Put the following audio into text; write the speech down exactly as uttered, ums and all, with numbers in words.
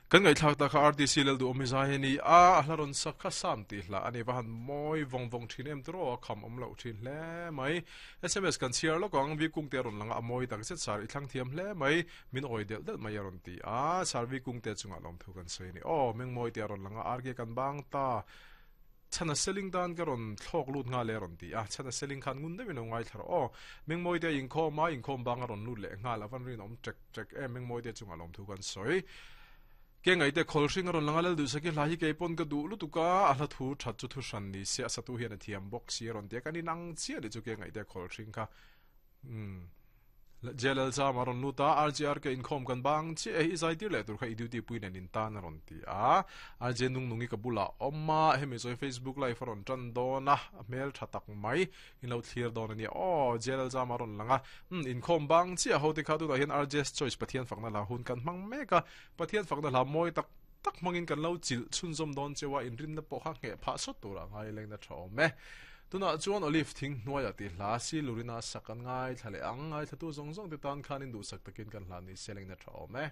Kan ngaihthlak tak kha R T C Lalduhawmi zai a ni a, a hla rawn sak kha Sam tih hla a ni. Va han mawi vawng vawng thin em tiraw, a kham awm loh thin hle mai. S M S kan chhiar lawk ang, Vi Kungte a rawn lang a, a mawi tak zet sar i thlang thiam hle mai, min awi delh delh mai a rawn ti a, sar Vi Kungte chungah lawmthu kan sawi a ni. Aw, Mengmawi te a rawn lang a, R K kan bang ta. Chhana Seling tan ka rawn thlawk lut nghal e a rawn ti a, Chhana Seling khan ngun deuhin lo ngaithla rawh aw. Mengmawite a inkhawm a, inkhawm bang a rawn lut leh nghal, a van rinawm ṭek ṭek em, Mengmawite chungah lawmthu kan sawi. Ke ngaihte khawl hring a rawn lang a, Lalduhsaki hla hi kei pawn ka duh lutuk a, a hla thu ṭhat chu thu hran ni se, a satu hian a thiam bawk si a rawn ti a, kan inang chiah nih chu ke ngaihte khawl hring kha. Umm. J L Chama a rawn lut a, R G R K inkhawm kan bang chiah e, i zai tir leh tur kha i duty pui nen in tan a rawn ti a. R J Nungnungi ka bulah awm a, hemi chuan Facebook live a rawn tan dawn a, a hmel tha tak mai in lo thlir dawn a nia aw. J L Chama a rawn lang a, umm inkhawm bang chiah ho te kha tunah hian R J's Choice Pathian fakna hla hun kan hmang mek a, Pathian fakna hla mawi tak tak hmangin kan lo chilh chhunzawm dawn cheu a, inrinna pawh kha ngheh phah sawt turah ngai lengna tha awm e. Tunah chuan Olive thing hnuaiah tih hla si Lurina sak an ngaithla leh ang, ngaithlatu zawng zawng te tan khan in duhsak takin kan hla ni se lengna tha awm e.